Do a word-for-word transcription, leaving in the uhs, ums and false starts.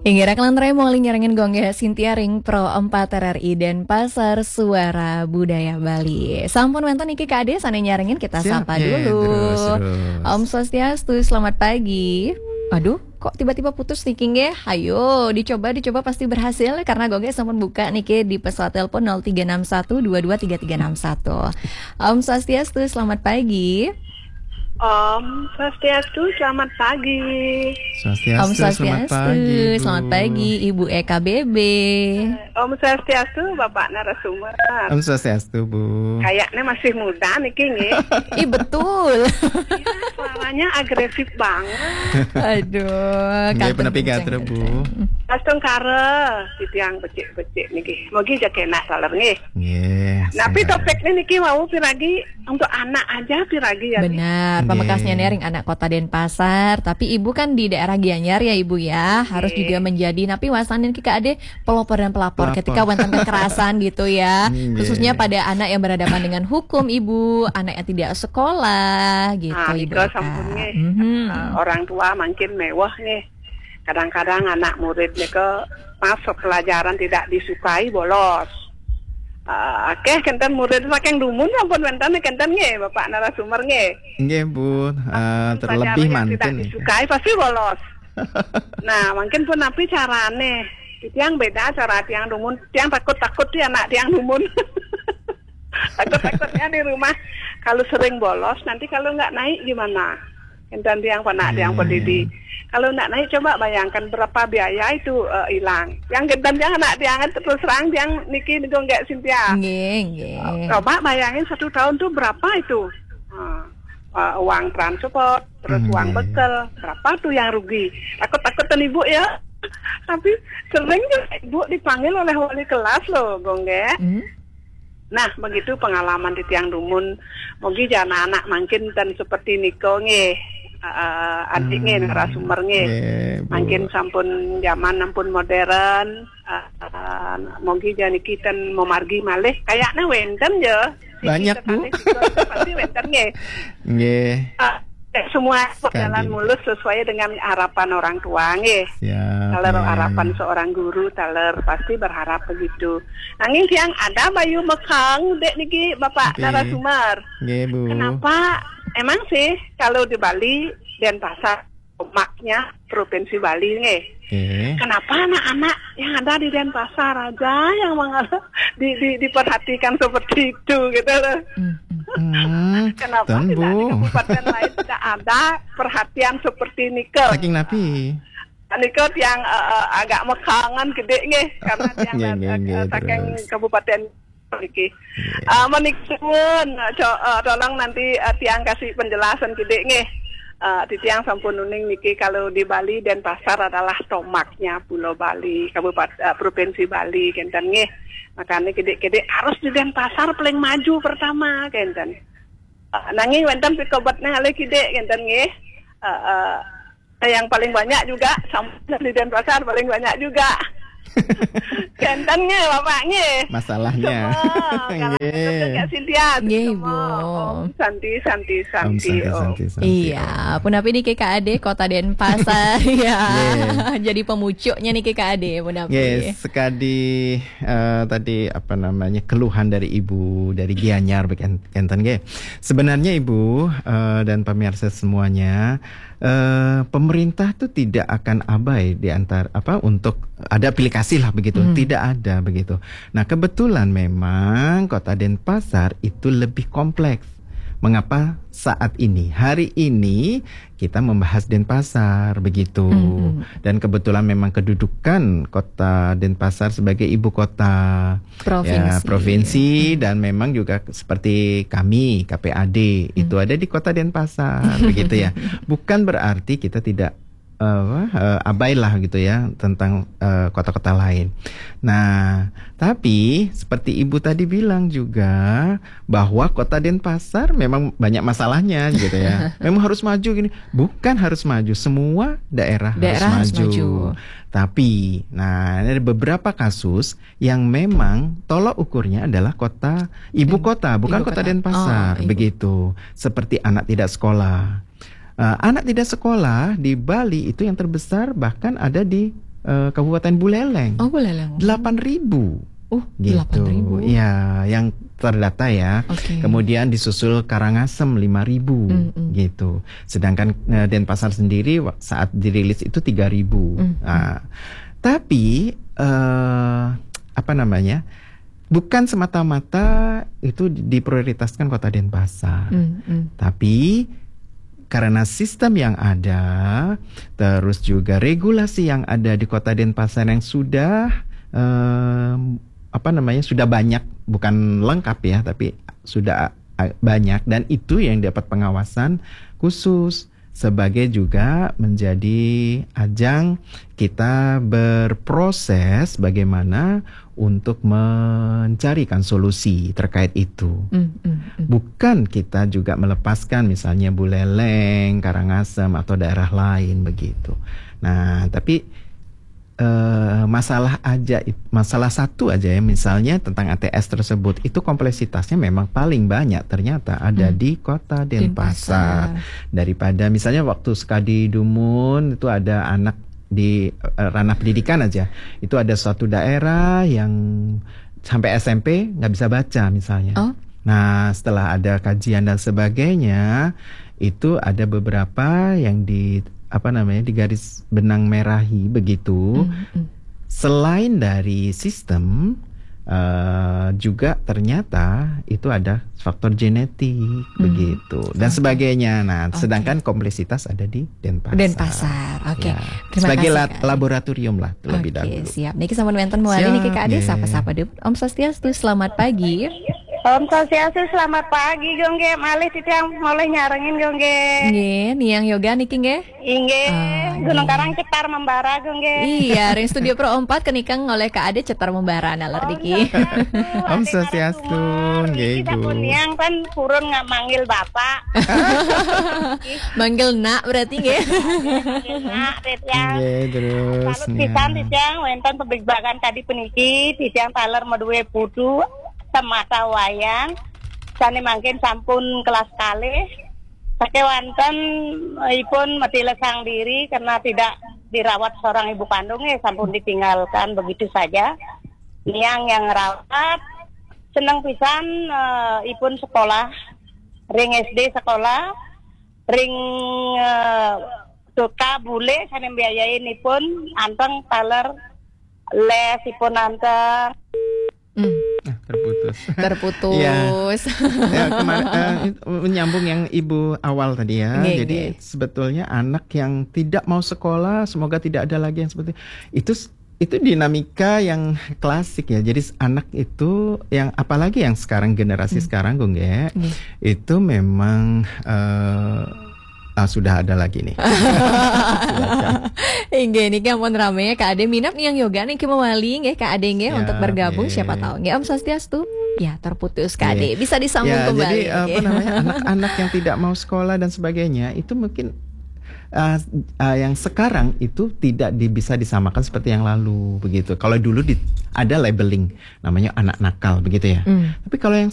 Inggih, Reklan Remo nyarengin Gonggé Sintia ring Pro empat R R I Denpasar, Suara Budaya Bali. Sampun wénten niki Kak Ade sané nyarengin, kita sapa dulu. Om Swastiastu, selamat pagi. Aduh, kok tiba-tiba putus niki nggih? Ayo, dicoba, dicoba pasti berhasil karena Gonggé sampun buka niki di pesawat telepon nol tiga enam satu dua dua tiga tiga enam satu. Om Swastiastu, selamat pagi. Om Swastiastu, selamat pagi. Swastiastu, Om Swastiastu, selamat pagi, Bu. Selamat pagi, Ibu E K B B. Om Swastiastu, Bapak narasumber. Om Swastiastu, Bu. Kayaknya masih muda niki, nggih. Ih, betul. Iya, suaranya agresif banget. Aduh, nggih, kantun punapi kenceng, gatra, Bu. Astungkara, titiang becik-becik niki. Mogi ja kenak taler, nggih. Nggih. Napi topiknya niki wau piragi untuk anak aja piragi ya, nggih. Benar, pamekasnya ring anak Kota Denpasar, tapi Ibu kan di daerah Gianyar ya, Ibu ya, harus juga menjadi napi wasanin Kak Ade pelopor dan pelapor ketika wénten kekerasan gitu ya. Nggih. Khususnya pada anak yang berhadapan dengan hukum, Ibu, anak yang tidak sekolah gitu, ah, Ibu nika Eka. Sampun nggih. Mhm. Eh, orang tua makin mewah nggih. Kadang-kadang anak murid nika, maaf, pelajaran tidak disukai, bolos. Eh, akeh kenten murid saking dumun sampun wénten kenten nggih, Bapak narasumber nggih. Nggih, Bu. Eh, terlebih pelajaran yang tidak manten disukai, pasti bolos. Nah, mungkin pun napi carane? Tiang beda cara tiang dumun. Tiang takut-takut ya anak tiang dumun. Takut-takutnya di rumah, kalau sering bolos, nanti kalau nggak naik gimana? Kenten tiang panak tiang, hmm, pendidik. Kalau nggak naik, coba bayangkan berapa biaya itu, eh, hilang. Yang kenten tiang anak tiang terus terang tiang niki niku nggak Sintia. Nggih, nggih. Coba bayangin satu tahun tuh berapa itu? Nah, eh, uang transport, terus, hmm, uang, iya, iya, bekal, berapa tuh yang rugi? Takut-takut kan Ibu ya. Tapi sering juga Ibu dipanggil oleh wali kelas loh, Gonggé. Hmm. Nah, begitu pengalaman titiang dumun. Mogi jana anak makin ten seperti niko nggih. Eh, adik nggih, hmm, narasumber nggih. Nggih, Bu. Makin sampun zaman ampun modern. Eh, mogi jana niki ten memargi malih. Kayaknya wénten ya. Banyak, Bu. Pasti wénten nggih. Nggih. Eh, semua berjalan mulus sesuai dengan harapan orang tua nggih. Siap, kalau nggih, harapan seorang guru taler pasti berharap begitu. Nanging tiang ada bayu mekhang, Dék, niki Bapak narasumber. Nggih, Bu. Kenapa? Emang sih kalau di Bali, Denpasar, maknya Provinsi Bali nggih. Nggih. Kenapa anak-anak yang ada di Denpasar aja yang mengal-, di, di, diperhatikan seperti itu gitu loh. Hmm, hmm. Kenapa tidak di kabupaten lain tidak ada perhatian seperti niko? Saking napi? Niko tiang, eh, eh, agak mekhangan gedé nggih karena tiang, nggih, nggih, eh, nggih, saking terus. Kabupaten niki. Nggih. Eh, menik suwun, co-, eh, tolong nanti, eh, tiang kasih penjelasan gedé nggih. Eh, titiang sampun uning niki kalau di Bali Denpasar adalah tomaknya Pulau Bali, Kabupaten, eh, Provinsi Bali kenten nggih. Makanya gedé-gedé harus di Denpasar paling maju pertama kenten. Eh, nanging wénten pikobetnya oleh gedé kenten nggih. Eh, eh, yang paling banyak juga sama di Denpasar paling banyak juga. Kenten nggih, Bapak nggih. Masalahnya. Semua, kalau nggih. Kak Sintia, nggih, semua. Bu. Om Santi, Santi, Santi, Om Santi, Om. Santi, Santi, iya, Om. Punapi niki Kak Ade, Kota Denpasar, ya. Nggih. Jadi pemucuknya niki Kak Ade, punapi. Nggih, sekadi, eh, tadi apa namanya, keluhan dari Ibu dari Gianyar, beken-, kenten nggih. Sebenarnya Ibu, eh, dan pemirsa semuanya, eh, pemerintah tuh tidak akan abai di antar, apa, untuk ada aplikasi lah begitu. Hmm. Tidak ada begitu. Nah, kebetulan memang Kota Denpasar itu lebih kompleks. Mengapa saat ini, hari ini kita membahas Denpasar begitu? Hmm, hmm. Dan kebetulan memang kedudukan Kota Denpasar sebagai ibu kota, provinsi. Ya, provinsi, hmm, dan memang juga seperti kami, K P A D, hmm, itu ada di Kota Denpasar begitu ya. Bukan berarti kita tidak, eh, apa, eh, abailah gitu ya tentang, eh, kota-kota lain. Nah, tapi seperti Ibu tadi bilang juga bahwa Kota Denpasar memang banyak masalahnya gitu ya. Memang harus maju gini. Bukan harus maju, semua daerah harus maju. Daerah harus maju. Tapi, nah, ada beberapa kasus yang memang tolok ukurnya adalah kota, ibu kota, bukan kota Denpasar, oh, iya, begitu. Seperti anak tidak sekolah. Eh, anak tidak sekolah di Bali itu yang terbesar bahkan ada di eh, Kabupaten Buleleng. Oh, Buleleng. Delapan ribu. Uh, Gitu. delapan ribu. Ya, yang terdata ya. Oke. Kemudian di Susul Karangasem lima ribu Mm-mm. gitu. Sedangkan eh, Denpasar sendiri wa- saat dirilis itu tiga ribu. Mm-mm. Nah, tapi eh, apa namanya? Bukan semata-mata itu diprioritaskan Kota Denpasar. Mm-mm. Tapi karena sistem yang ada, terus juga regulasi yang ada di Kota Denpasar yang sudah em, apa namanya, sudah banyak, bukan lengkap ya, tapi sudah a- banyak, dan itu yang dapat pengawasan khusus sebagai juga menjadi ajang kita berproses bagaimana untuk mencarikan solusi terkait itu. Mm-mm. Bukan kita juga melepaskan misalnya Buleleng, Karangasem atau daerah lain begitu. Nah, tapi eh, masalah aja it- masalah satu aja ya, misalnya tentang A T S tersebut, itu kompleksitasnya memang paling banyak ternyata ada Hmm. di Kota Denpasar. Denpasar. Daripada misalnya waktu Sekadi Dumun itu ada anak di eh, ranah pendidikan aja, itu ada suatu daerah yang sampai S M P nggak bisa baca misalnya. Oh. Nah, setelah ada kajian dan sebagainya, itu ada beberapa yang di apa namanya, di garis benang merahi begitu. Mm-mm. Selain dari sistem, eh, juga ternyata itu ada faktor genetik begitu dan Oke. sebagainya. Nah, Oke. sedangkan kompleksitas ada di Denpasar. Denpasar. Oke. Ya. Terima Sebagai kasih, la- Kak. Laboratorium lah terlebih Oke, dahulu. Siap. Niki sampun wenten mawali Siap, niki, Kak Ade, nggih. sapa-sapa dulu. Om Swastiastu, selamat pagi. Om Swastiastu, selamat pagi, Gongge. Malih titiang malih nyarengin, Gongge. Nggih, Niang Yoga niki nggih. Inggih, Ah, Gunung nggih. Karang Cetar Membara, Gongge. Iya, ring studio Pro empat kenikeng oleh Kak Ade Cetar Membara naler niki. Om Swastiastu, nggih, Kita Ibu. pun yang kan purun nggak manggil Bapak. Manggil nak berarti nggih. Nah, titiang. Nggih, terus Salut pisan, ya. titiang, wenten pabligbagan kadi puniki, titiang taler madué putu, semata wayang, sané mangkin sampun kelas kalih, sakéwanten ipun matilesang diri karena tidak dirawat seorang ibu kandung, ya, sampun ditinggalkan begitu saja. Niang yang ngerawat, seneng pisan, eh, ipun sekolah, ring S D sekolah, ring, eh, T K bule sané mbiayain ipun, anteng taler les ipun anteng. Hmm, Ah, terputus. terputus. Ya, kemarin eh, menyambung yang Ibu awal tadi ya. Nggih, Jadi nggih. Sebetulnya anak yang tidak mau sekolah, semoga tidak ada lagi yang seperti itu. Itu dinamika yang klasik ya. Jadi anak itu yang, apalagi yang sekarang, generasi Hmm. sekarang, Gongge, Nggih. itu memang eh, ah, sudah ada lagi nih. Silakan. Inggih, niki ampun rame ya, Kak Ade. Minab Niang Yoga niki mawali nggih, Kak Ade nggih, Siap, untuk bergabung, nggih. Siapa tahu nggih. Om Swastiastu. Ya, terputus, Kak Iya. Ade. Bisa disambung Ya, kembali. jadi apa Oke. namanya, anak-anak yang tidak mau sekolah dan sebagainya itu mungkin uh, uh, yang sekarang itu tidak di- bisa disamakan seperti yang lalu begitu. Kalau dulu di, ada labeling namanya anak nakal begitu ya. Hmm. Tapi kalau yang